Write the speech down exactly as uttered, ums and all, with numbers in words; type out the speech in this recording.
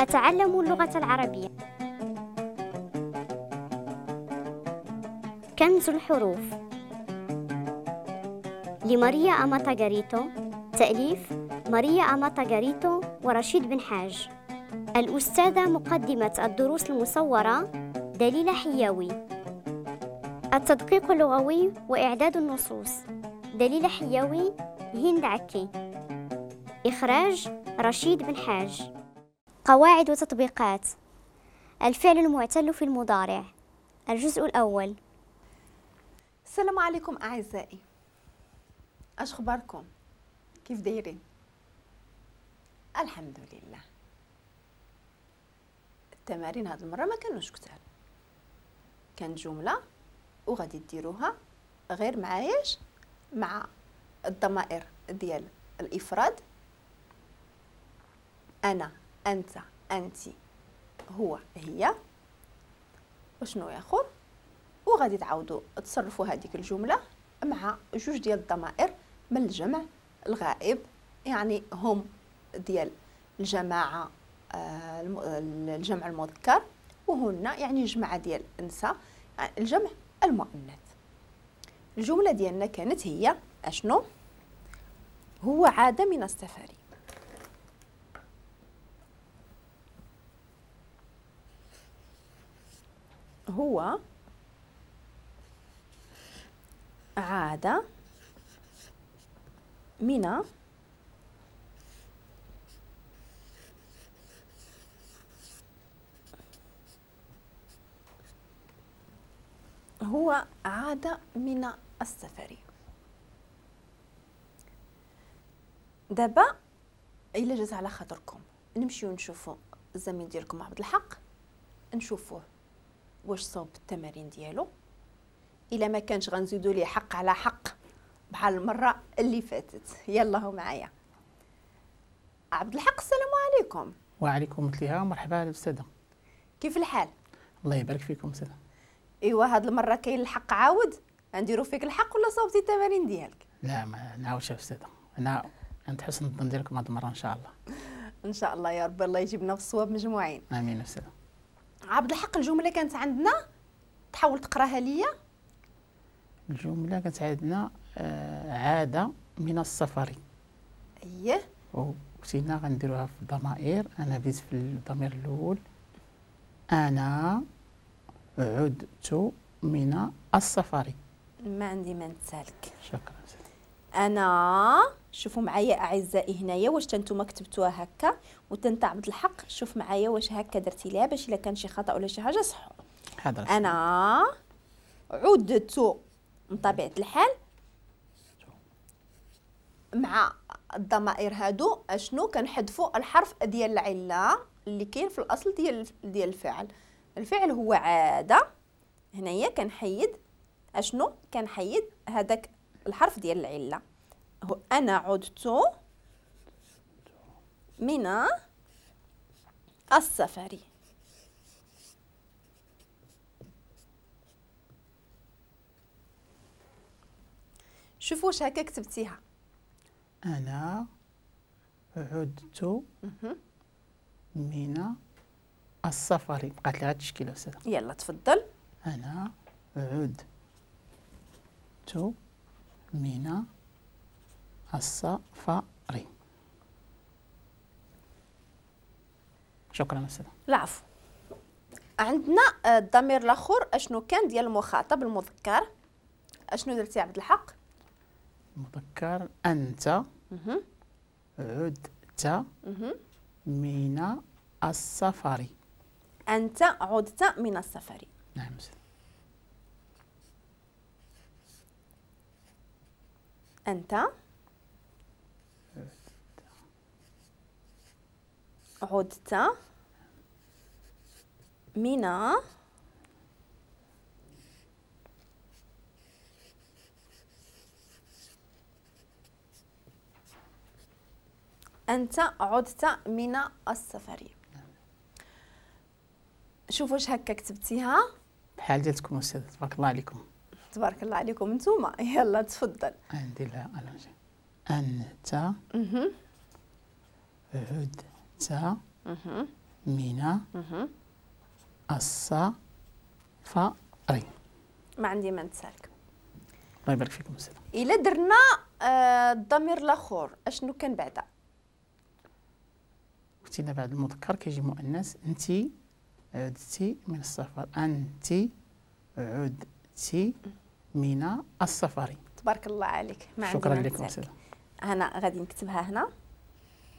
أتعلم اللغة العربية. كنز الحروف لماريا أماتا غاريتو، تأليف ماريا أماتا غاريتو ورشيد بن حاج. الأستاذة مقدمة الدروس المصورة دليلة حياوي. التدقيق اللغوي وإعداد النصوص دليلة حياوي، هند عكي. إخراج رشيد بن حاج. قواعد وتطبيقات الفعل المعتل في المضارع، الجزء الأول. السلام عليكم أعزائي، أش أخباركم؟ كيف دايرين؟ الحمد لله. التمارين هاد المرة ما كانوش كتار، كانت جملة وغادي ديروها غير معاياش مع الضمائر ديال الإفراد، أنا، أنت، أنتي، هو، هي، وشنو ياخر، وغادي تعاودوا تصرفوا هذيك الجملة مع جوج ديال الضمائر من الجمع الغائب، يعني هم ديال الجماعة الجمع المذكر، وهن يعني جماعة ديال النساء الجمع المؤنث. الجملة ديالنا كانت هي اشنو؟ هو عاد من السفر. هو عاد من هو عاد من السفر. دابا الا جات على خاطركم نمشيو نشوفو الزميل ديالكم عبد الحق، نشوفوه واش صوب التمارين ديالو. الا ما كانش غنزيدو ليه حق على حق بحال المرة اللي فاتت. يلا هو معايا عبد الحق. السلام عليكم. وعليكم السلام، مرحبا الاستاذة. كيف الحال؟ الله يبارك فيكم استاذه. ايوا هاد المرة كاين الحق عاود، نديرو فيك الحق ولا صوبتي التمارين ديالك؟ لا ما نعاودش استاذه، انا عند حسن الظن ديالكم هاد المرة ان شاء الله. ان شاء الله يا رب، الله يجيبنا في الصواب مجموعين. امين استاذه. عبد الحق الجملة كانت عندنا، تحاول تقراها ليا. الجملة كانت عندنا آه عادة من السفر. اييه. وكنا غنديروها في الضمائر. انا بديت في الضمير الاول، انا عدت من السفر. ما عندي ما نتسالك. شكرا. انا شوفوا معايا اعزائي هنايا واش نتوما كتبتوها هكا، وتنت عبد الحق شوف معايا واش هكا درتي ليها باش الا كان شي خطا ولا شي حاجة صحوا. انا عدت من طبيعة الحال مع الضمائر هادو اشنو كنحذفوا الحرف ديال العلة اللي كاين في الاصل ديال ديال الفعل. الفعل هو عادة، هنايا كنحيد اشنو؟ كنحيد هذاك الحرف ديال العلة. هو انا عدت من السفر. شوفوا واش هكا كتبتيها. انا عدت من السفر، بقات لي غير التشكيلة استاذه. يلا تفضل. انا عدت من السفر. شكرا استاذه. العفو. عندنا الضمير الاخر اشنو كان ديال المخاطب المذكر؟ اشنو درتي عبد الحق؟ المذكر انت عدت من السفر. انت عدت من السفر. نعم استاذ. أنت عدت من أنت عدت من السفر. شوفوا واش هكا كتبتيها بحال ديالتكم أستاذ، تبارك الله عليكم. تبارك الله عليكم نتوما. يلا تفضل. عندي لها أنا. أنت عدت من السفر. ما عندي ما نتسالك. الله يبارك فيكم أستاذة. إلا درنا آه الضمير الآخر أشنو كان بعدا؟ قلتي لنا بعد المذكر كيجي مؤنث. أنت عدتي من السفر، أنت عدتي من السفر. تبارك الله عليك. ما شكرا لكم أستاذة. أنا غادي نكتبها هنا.